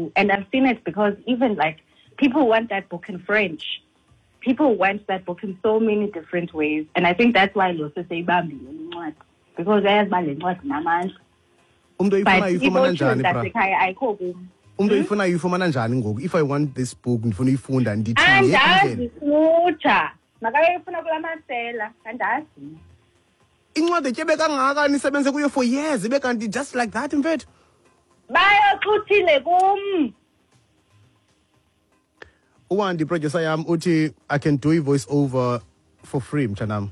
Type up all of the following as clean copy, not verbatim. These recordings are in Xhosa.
ngoku, and I've seen it because even like people want that book in French. People want that book in so many different ways, and I think that's why lo seseyibambile incwadi, because ayazi uba le ncwadi namandla. Umntu oyifuna uyifumana njani, bra? Zasekhaya ayikho kum. Umntu oyifuna uyifumana njani ngoku? If I want this book, ndifuna uyifunda, ndithi Andazi, futsha makayofuna kula masela, andazi. Incwadi etyebe kangaka nisebenze kuyo for years, ibe kanti just like that, mfethu. Bayoxuthile kum. Uwandi, producer yam, uthi I can do i-voice over for free, mtshanam.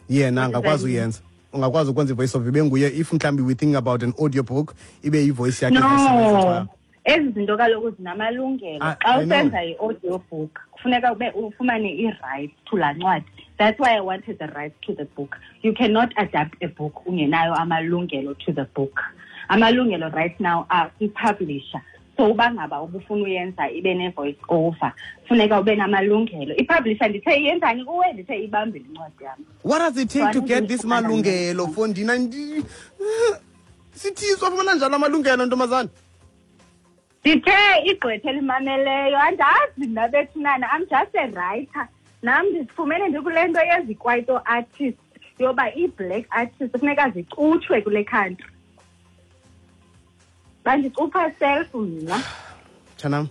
Yena angakwazi uyenza, ungakwazi ukwenza i-voice over ibe nguye if mhlawumbi we think about an audio book, ibe yi-voice yakhe. No, ezi zinto kaloku zinamalungelo. Xa usenza i-audio book kufuneka ube ufumane i-rights to laa ncwadi. That's why I wanted the rights to the book. You cannot adapt a book ungenayo amalungelo to the book. Amalungelo right now are kwi-publisher. So uba ngaba ubufuna uyenza ibe ne-voice over, funeka ube namalungelo. I-publisher, ndithe iyenzani kuwe? Ndithe ibambile incwadi yam. What does it take to get this malungelo, fondina? Sithiswa, fumana njani amalungelo, ntombazana? Ndithe igqwetha elimameleyo, andazi mna bethunana. I'm just a writer. Nam ndizifumene ndikule nto yezikwaito artist, yoba ii-black artist funeka zicutshwe kule country. Bandicupha self mna. Mtshanam,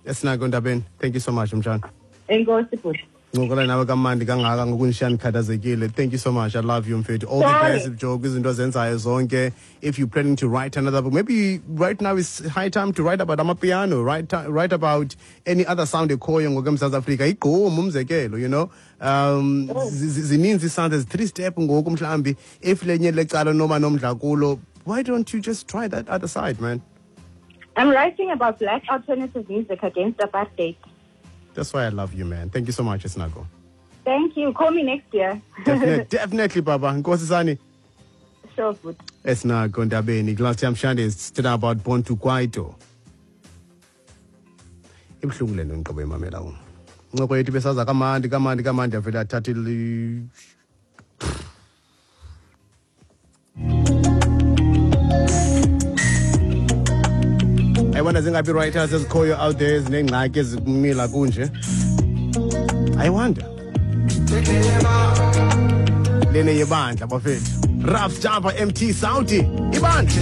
Esinako Ndabeni, thank you so much, mtshana. Enkosi, bhuti. Ncokola nawe kamandi kangaka ngokunishiya ndikhathazekile. Thank you so much. I love you, mfethu. All the best, Joe, kwizinto ozenzayo zonke. If you're planning to write another book, maybe right now is high time to write about amapiano, write about any other sound ekhoyo ngoku eMzantsi Afrika. Igqom umzekelo. Zininzi sounds, there's three step ngoku mhlawumbi. If lenye lecala noma nomdla kulo, why don't you just try that other side, man? I'm writing about black alternative music against apartheid. That's why I love you, man. Thank you so much, Esinako. Thank you. Call me next year. Definitely, Baba. Nkosi sani. Sure, good. Esinako Ndabeni. Last time Shande is about Born to Kwaito. Ibuhlungu le nto ndiqobo imamela kum. Incoko yethu besaza kamandi, kamandi, kamandi, avele athathe I wonder zingaphi writers ezikhoyo out there ezinengxaki ezikumila kunje. I wonder. Lene yebandla bafethu. Raf Java MT Saudi ibandla.